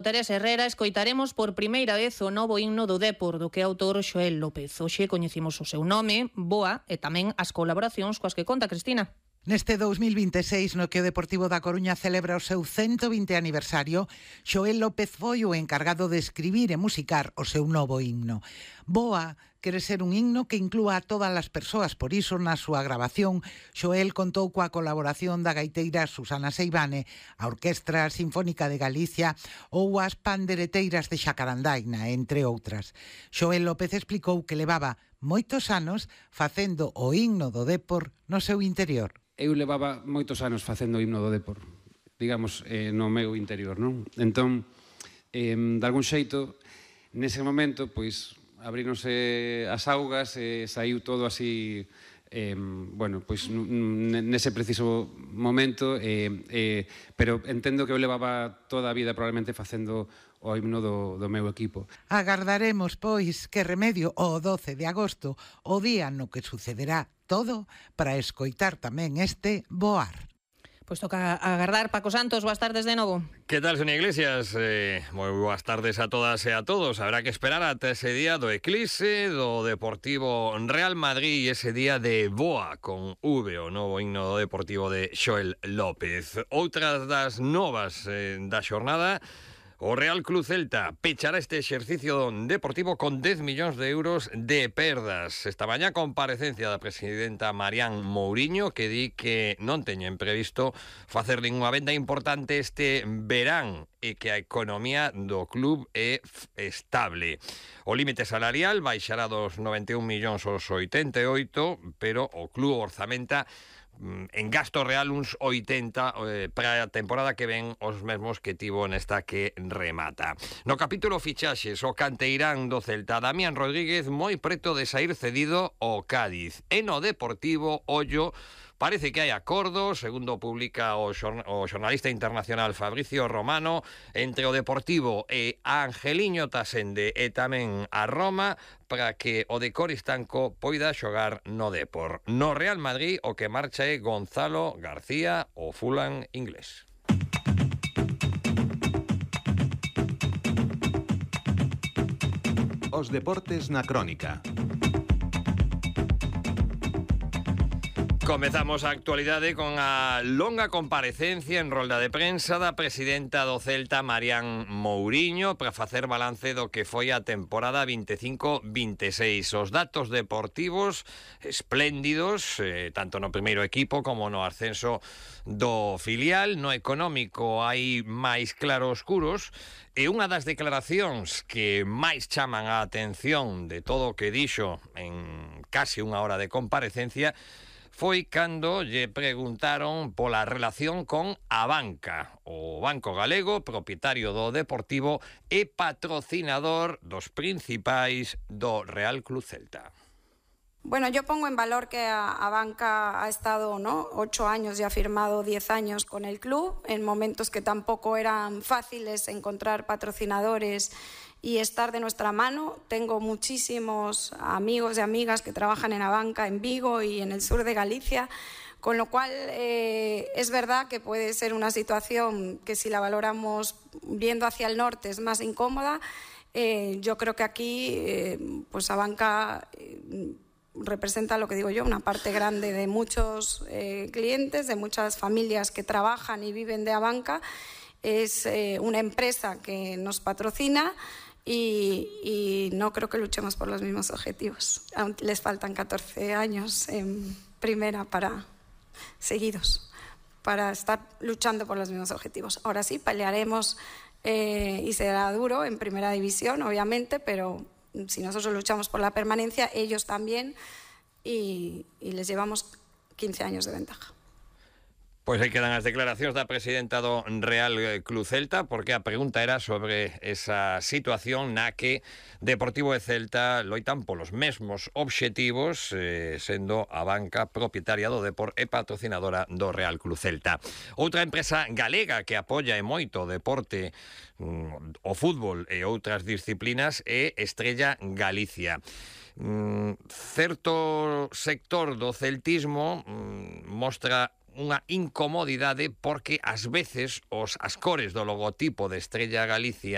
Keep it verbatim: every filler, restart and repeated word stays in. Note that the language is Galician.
Teresa Herrera, escoitaremos por primeira vez o novo himno do Dépor, do que é autor Xoel López. Hoxe coñecimos o seu nome, Boa, e tamén as colaboracións coas que conta Cristina. Neste dous mil vinte e seis, no que o Deportivo da Coruña celebra o seu ciento vinte aniversario, Xoel López foi o encargado de escribir e musicar o seu novo himno. Boa quere ser un himno que inclúa a todas as persoas, por iso na súa grabación Xoel contou coa colaboración da gaiteira Susana Seivane, a Orquestra Sinfónica de Galicia ou as pandereteiras de Xacarandaina, entre outras. Xoel López explicou que levaba moitos anos facendo o himno do Dépor no seu interior. Eu levaba moitos anos facendo o himno do Dépor, digamos, eh, no meu interior, non? Entón, eh, de algún xeito, nese momento, pois, abríronse as augas e saiu todo así, eh, bueno, pois, nese preciso momento, eh, eh, pero entendo que eu levaba toda a vida probablemente facendo o himno do, do meu equipo. Agardaremos, pois, que remedio o doce de agosto, o día no que sucederá todo, para escoitar tamén este Boar. Pois toca agardar. Paco Santos, boas tardes de novo. Que tal, Sonia Iglesias? Eh, moi boas tardes a todas e a todos. Habrá que esperar ata ese día do eclipse do Deportivo Real Madrid e ese día de Boa con V, o novo himno do Deportivo de Xoel López. Outras das novas eh, da xornada: o Real Club Celta pechará este exercicio deportivo con dez millóns de euros de perdas. Esta mañá comparecencia da presidenta Marián Mouriño, que di que non teñen previsto facer ninguna venda importante este verán e que a economía do club é estable. O límite salarial baixará dos noventa e un millóns aos oitenta e oito, pero o club orzamenta en gasto real uns oitenta eh, para a temporada que ven, os mesmos que tivo nesta que remata. No capítulo fichaxes, o canteirán do Celta Damián Rodríguez moi preto de saír cedido ao Cádiz. E no Deportivo, ollo, parece que hai acordos, segundo publica o, xorn o xornalista internacional Fabricio Romano, entre o Deportivo e a Angeliño Tasende e tamén a Roma, para que o de Coristanco poida xogar no Dépor. No Real Madrid o que marcha é Gonzalo García, o Fulham inglés. Os deportes na crónica. Comezamos a actualidade con a longa comparecencia en rolda de prensa da presidenta do Celta, Marián Mouriño, para facer balance do que foi a temporada vinte e cinco vinte e seis. Os datos deportivos espléndidos, eh, tanto no primeiro equipo como no ascenso do filial. No económico hai máis claroscuros, e unha das declaracións que máis chaman a atención de todo o que dixo en casi unha hora de comparecencia foi cando lle preguntaron pola relación con a banca. O Banco Galego, propietario do Deportivo e patrocinador dos principais do Real Club Celta. Bueno, yo pongo en valor que a, a banca ha estado, ¿no?, ocho años y ha firmado diez años con el club, en momentos que tampoco eran fáciles encontrar patrocinadores y estar de nuestra mano. Tengo muchísimos amigos y amigas que trabajan en la banca en Vigo y en el sur de Galicia, con lo cual eh, es verdad que puede ser una situación que, si la valoramos viendo hacia el norte, es más incómoda. Eh, yo creo que aquí eh, pues a banca eh, representa, lo que digo yo, una parte grande de muchos eh, clientes, de muchas familias que trabajan y viven de a banca. Es eh, una empresa que nos patrocina y, y no creo que luchemos por los mismos objetivos. Aún les faltan catorce años en primera para seguidos para estar luchando por los mismos objetivos. Ahora sí, pelearemos eh, y será duro en primera división, obviamente, pero si nosotros luchamos por la permanencia, ellos también, y, y les llevamos quince años de ventaja. Pois aí quedan as declaracións da presidenta do Real Club Celta, porque a pregunta era sobre esa situación na que Deportivo e Celta loitan polos mesmos obxectivos, eh, sendo a banca propietaria do Depor e patrocinadora do Real Club Celta. Outra empresa galega que apoia e moito o deporte, o fútbol e outras disciplinas é Estrella Galicia. Mm, certo sector do celtismo mm, mostra unha incomodidade porque ás veces os as cores do logotipo de Estrella Galicia